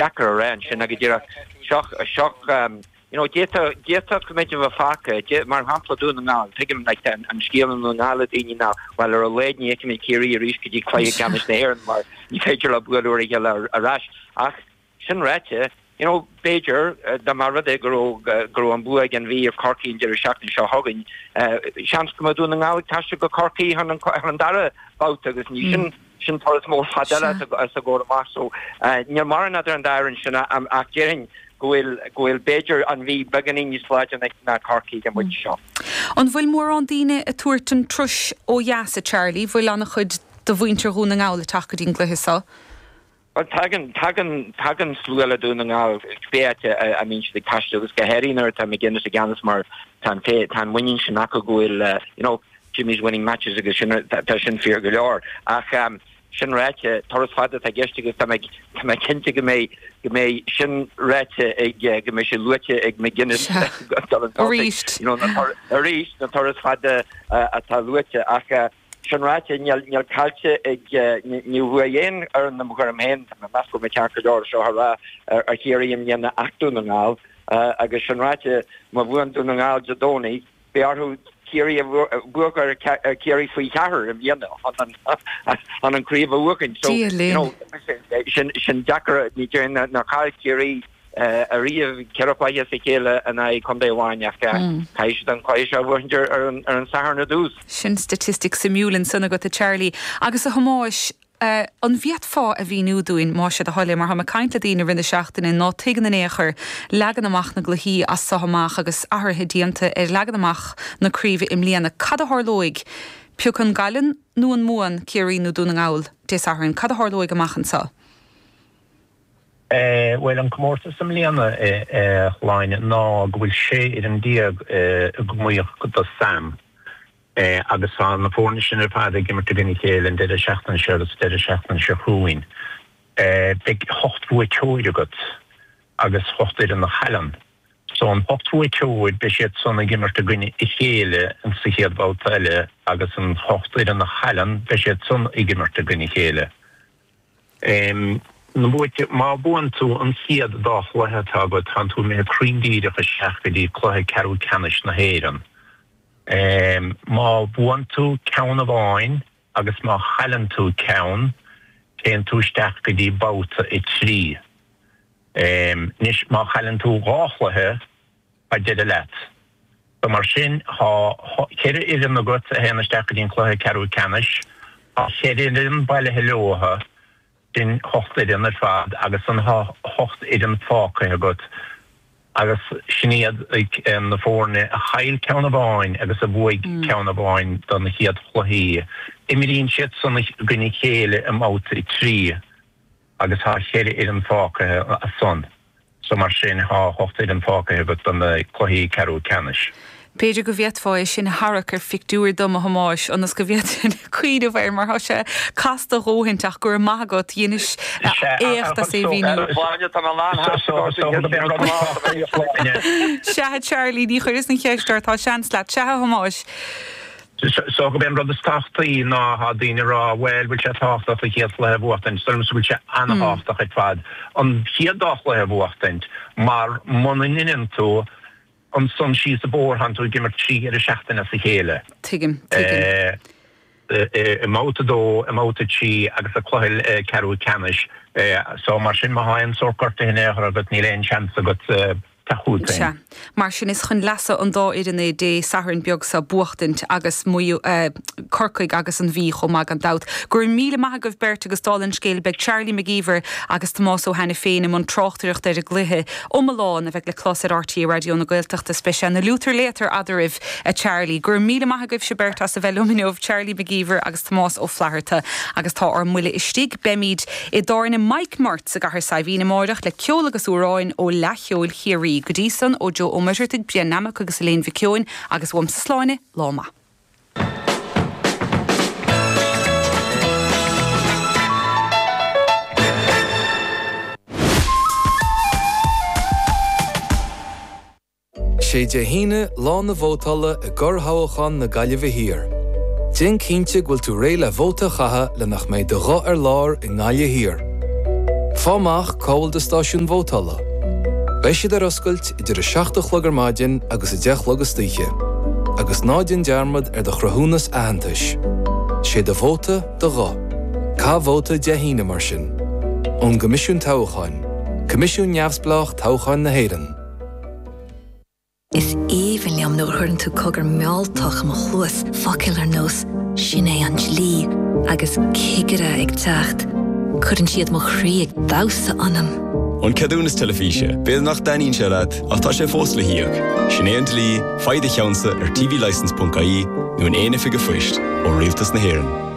Deacair a rá ansin ach go díreach seo, seo, you know, d'fhéadfadh, d'fhéadfadh go mbeidh a bheith fágtha, mar shampla Dún na nGall, tuigim like an scéal i nDún na nGall le daoine ná, bhuel ar a laghad ní fheicfimid Ciarraí arís go dtí cluiche ceannais na hÉireann mar ní féidir leo bualadh ar a chéile ar ais. Ach sin ráite, you know, b'fhéidir dá mba rud é go raibh, go raibh an bua ag an Mhí ar Chorcaigh an deireadh seachtaine seo chugainn, seans go mbeadh Dún na Ngall ag taisteal go Corcaigh chun an, chun an dara babhta agus ní sin, Sin turas mór fada eile os a gcomhair amach so níl mórán idir an dá fhoireann sin ach déarfainn go bhfuil, go bhfuil b'fhéidir an Mhí beagáinín níos láidre ná Corcaigh ag an bpointe seo. An bhfuil mórán daoine ag tabhairt an turais ó dheas, a Charlie? Bhfuil an-chuid de mhuintir Dhún na nGall ag teacht go dtí an gcluiche seo? Bhuel tagann, tagann, tagann slua le Dún na nGall cibé áit a mbíonn siad ag taisteal agus go háirithe nuair atá McGuinness i gceannas mar tá an, tá an muinín sin acu go bhfuil, you know, Jimmy's winning matches agus sin, tá sin fíor go leor. Ach sin ráite, turas fada atá i gceist agus tá mé, tá mé cinnte go mbeidh, go mbeidh sin ráite ag, go mbeidh sé luaite ag McGuinness Arís. You know, arís, na turais fada atá luaite. Ach sin ráite, níl, níl caillte ag, níor bhuaigh aon fhoireann i mo thuairim féin, tá mé ag meas go bhfuil mé ceart go leor seo a rá, ar Chiarraí i mbliana ach Dún na nGall. Agus sin ráite, má bhuann Dún na nGall Dé Domhnaigh, Beidh orthu Ciarraí a bhuachan ar Chiarraí faoi cheathair i mbliana chun an craobh a bhuachaint. So, Dia you linn. know, sin, sin deacair, ní déarfainn nár chaill Ciarraí ariamh 4 chluiche as a chéile in aghaidh contae amháin ach caithfidh siad an cluiche seo a bhuachaint ar an, ar an Satharn ar dtús. Sin staitistic suimiúil ansan agat, a Charlie. Agus a Thomáis, An bhféadfá a mhíniú dúinn, más é do thoil é, mar táim ag caint le daoine i rith na seachtaine ná tuigeann in aon chor leagan amach na gcluichí as so amach agus athruithe déanta ar leagan amach na craoibhe i mbliana. Cad a tharlóidh, pé acu an gcailleann nó an mbuann Ciarraí nó Dún na nGall Dé Sathairn, cad a tharlóidh amach anseo? Bhuel, an comórtas i mbliana, a Shláine, ná go bhfuil 16 fhoireann ag iomaíocht do Sam. Agus tá na foirne sin ar fad ag imirt i gcoinne a chéile an deireadh seachtaine seo agus an deireadh seachtaine seo chugainn. Beidh hocht bhuaiteoir agat agus hocht fhoireann a chailleann. So an hocht bhuaiteoir, beidh siad san ag imirt i gcoinne a chéile sa chéad bhabhta eile agus an hocht fhoireann a chailleann, beidh siad san ag imirt i gcoinne a chéile. Na buaite, má bhuann tú an chéad dá chluiche atá agat, tánn tú imithe cruinn díreach isteach go dtí cluiche ceathrú ceannais na hÉireann. Má bhuann tú ceann amháin agus má chailleann tú ceann, téann tú isteach go dtí babhta 3. Anois, má chailleann tú dhá chluiche, tá deireadh leat. So mar sin, tá cheithre fhoireann agat a théann isteach go dtí an cluiche ceathrú ceannais. Tá cheithre fhoireann bailithe leotha. Sin hocht fhoireann ar fad agus an hocht fhoireann fágtha agat agus sin iad na foirne a chaill ceann amháin agus a bhuaigh ceann amháin de na chéad chluichí. Imríonn siad san i gcoinne a chéile i mbabhta 3 agus tá cheithre fhoireann fágtha as san. So mar sin tá hocht fhoireann fágtha agat do na cluichí ceathrú ceannais. B'fhéidir go bhféadfá é sin a tharrac ar phictiúr dom, a Thomáis, ionas go bhféadfainn cuimhneamh air, mar tá sé casta a dhóthaint, ach go raibh maith agat, dheinis éacht as é a mhíniú. Sea, a Charlie, ní chuireas an cheist ort, tá seans leat. Sea, a Thomáis. So gurb é an rud is tábhachtaí ná tá daoine ag rá bhuel bhfuil sé tábhachtach an chéad chluiche a bhuachtaint, so bhfuil sé an-thábhachtach ar fad an chéad dá chluiche a bhuachtaint mar muna ndeineann tú ansan síos an bóthar tánn tú ag imirt 3 dheireadh seachtaine as a chéile. Tuigim, tuigim. I mbabhta 2, i mbabhta 3 agus i cluiche ceathrú ceannais. So mar sin má tá aon sórt gortaithe in aon chor agat níl aon seans agat teacht chugat féin. Sea. Mar sin is chun leasa an dá fhoireann é Dé Sathairn beag seo buachtaint agus Maigh Eo, Corcaigh agus an Mhí chomh maith gan dabht. Go raibh míle maith agaibh beirt agus dála an scéil beidh Charlie Mac Íomhair agus Tomás Ó hAiniféin i mbun tráchtaireachta ar an gcluiche iomlán a bheidh le clos ar RTÉ Raidió na Gaeltachta is beidh sé ina liútar léatar eadraibh a Charlie. Go raibh míle maith agaibhse beirt as a bheith liom inniu, Charlie Mac Íomhair agus Tomás Ó Flatharta agus tá ár mbuille istigh. Beimid i dtábhairne Mike Murts i gCathair Saidhbhín amáireach le ceol agus amhráin ó Fhleadh Cheoil Chiarraí. Go dtí san, ó Joe Ó Muircheartaigh, Brian Nammock agus Elaine Mhic Eoin agus uaimse Sláine, lá maith. Sé Dé hAoine lá na vótála i gcorrthoghchán na Gaillimhe Thiar. Déan cinnte go bhfuil tú réidh le vóta a chaitheamh le nach mbeidh do ghuth ar lár i nGaillimh Thiar. Fáigh amach cá bhfuil do stáisiún vótála. Beidh siad ar oscailt idir 7 a chlog ar maidin agus 10 a chlog istoíche. Agus ná déan dearmad ar do chruthúnas aitheantais. Sé do vóta do ghuth. Caith vóta Dé hAoine mar sin. Ón gCoimisiún Toghcháin, Coimisiún Neamhspleách Toghcháin na hÉireann. Is aoibhinn liom nuair a chuireann tú cogar mealltach i mo chluas, focail ar nós 'sin é an dlí' agus 'cigire ag teacht'. Cuireann siad mo chroí ag damhsa ionam. An ceadúnas teilifíse, b'fhéidir nach dtaitníonn sé leat, ach tá sé fós le híoc. Sin é an dlí, faigh do cheannsa ar tvlicence.ie nó in aon oifig an phoist ó Rialtas na hÉireann.